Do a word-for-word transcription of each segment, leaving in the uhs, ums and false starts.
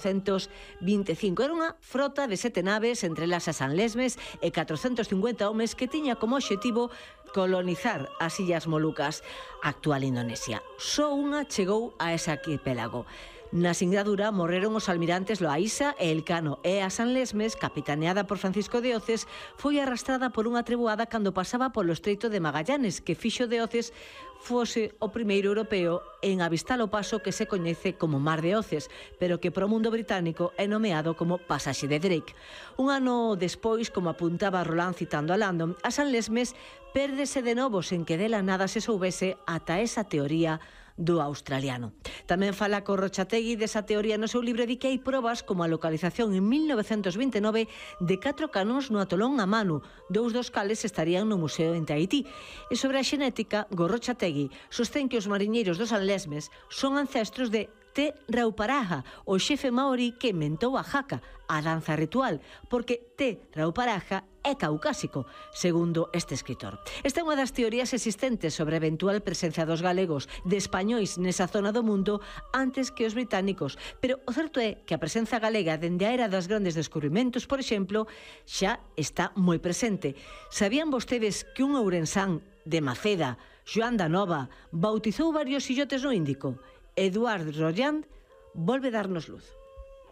catrocentos vinte e cinco. Era unha frota de sete naves, entre elas a San Lesmes, e catrocentos cincuenta homes que tiña como obxectivo colonizar as Illas Molucas, actual Indonesia. Só unha chegou a ese arquipélago. Na singradura morreron os almirantes Loaísa e Elcano, e a San Lesmes, capitaneada por Francisco de Oces, foi arrastrada por unha treboada cando pasaba polo Estreito de Magallanes, que fixo de Oces fose o primeiro europeo en avistar o paso que se coñece como Mar de Oces, pero que pro mundo británico é nomeado como Pasaxe de Drake. Un ano despois, como apuntaba Roland citando a Landon, a San Lesmes pérdese de novo sen que dela nada se soubese ata esa teoría do australiano. Tamén fala Corrochategui desa teoría no seu libro e di que hai probas como a localización en mil novecentos vinte e nove de catro canóns no atolón Amanu, dous dos cales estarían no museo en Tahití. E sobre a xenética, Gorrochategui sostén que os mariñeiros dos San Lesmes son ancestros de Te Rauparaha, o xefe maorí que inventou a haka, a danza ritual, porque Te Rauparaha é caucásico, segundo este escritor. Esta é unha das teorías existentes sobre a eventual presencia dos galegos, de españois nesa zona do mundo antes que os británicos, pero o certo é que a presenza galega dende a era dos grandes descubrimentos, por exemplo, xa está moi presente. Sabían vostedes que un ourensán de Maceda, Joan da Nova, bautizou varios illotes no Índico? Eduard Rolland volve darnos luz.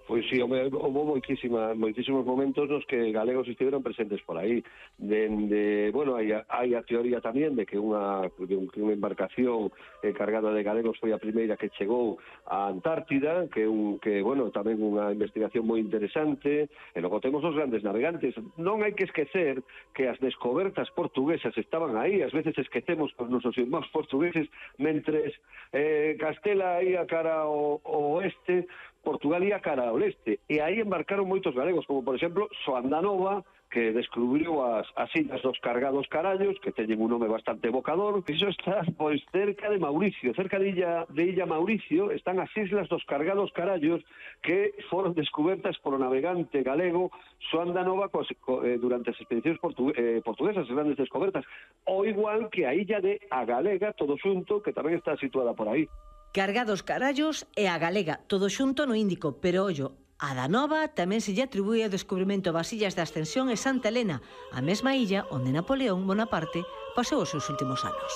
Pois sí, houve moitísima, moitísimos momentos nos que galegos estiveron presentes por aí. Dende, bueno, hai, hai a teoría tamén de que unha, de un, que unha embarcación eh, cargada de galegos foi a primeira que chegou á Antártida, que, un, que bueno, tamén unha investigación moi interesante. E logo temos os grandes navegantes. Non hai que esquecer que as descobertas portuguesas estaban aí. Ás veces esquecemos os nosos irmãos portugueses, mentres eh, Castela ia cara ao, ao oeste, Portugal ia cara ao leste, e aí embarcaron moitos galegos, como por exemplo Xoán da Nova, que descubriu as, as illas dos cargados carallos, que teñen un nome bastante evocador. Iso está pois cerca de Mauricio, cerca de Illa, de Illa Mauricio están as islas dos cargados carallos, que foron descubertas polo navegante galego Xoán da Nova cos, co, eh, durante as expedicións portu, eh, portuguesas, as grandes descobertas, ou igual que a illa de A Galega, todo xunto, que tamén está situada por aí. Cargados carallos e a Galega, todo xunto no Índico, pero ollo, a da Nova tamén se lle atribúe o descubrimento das illas de Ascensión e Santa Helena, a mesma illa onde Napoleón Bonaparte pasou os seus últimos anos.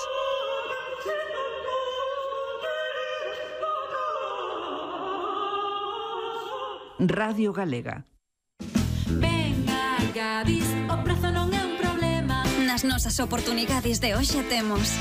Radio Galega. Venga, Gadis, o prazo non é un problema. Nas nosas oportunidades de hoxe temos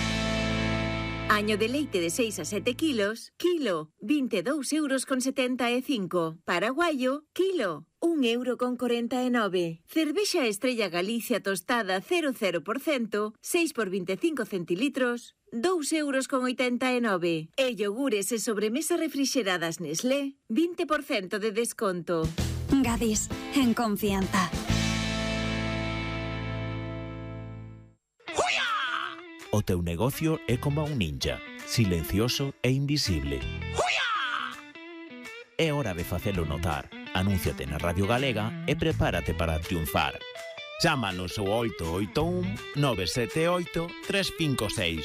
año de leite de seis a sete kilos, kilo, vinte e dous euros con setenta e cinco. Paraguayo, kilo, un euro con corenta e nove. Cervexa Estrella Galicia tostada cero cero por cento, seis por vinte e cinco centilitros, dous euros con oitenta e nove. E yogures e sobremesa refrixeradas Nestlé, vinte por cento de desconto. Gadis, en confianza. O teu negocio é como un ninja, silencioso e invisible. É hora de facelo notar. Anúnciate na Radio Galega e prepárate para triunfar. Chámanos ao oito oito un, nove sete oito, tres cinco seis.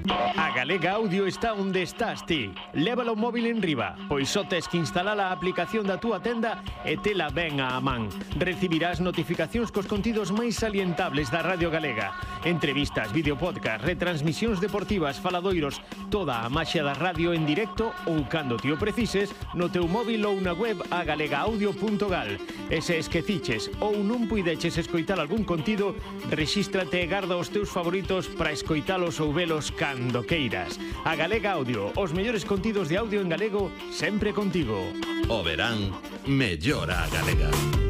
A Galega Audio está onde estás ti. Lévalo o móvil en riba, pois só tes que instalar a aplicación da túa tenda e tela ben á man. Recibirás notificacións cos contidos máis salientables da Radio Galega. Entrevistas, videopodcast, retransmisións deportivas, faladoiros, toda a maxia da radio en directo ou cando ti o precises no teu móvil ou na web a galega audio punto gal. E se esqueciches ou non puideches escoitar algún contido, rexístrate e garda os teus favoritos para escoitalos ou velos cando queiras. A Galega Audio, os mellores contidos de audio en galego sempre contigo. O verán mellora a Galega.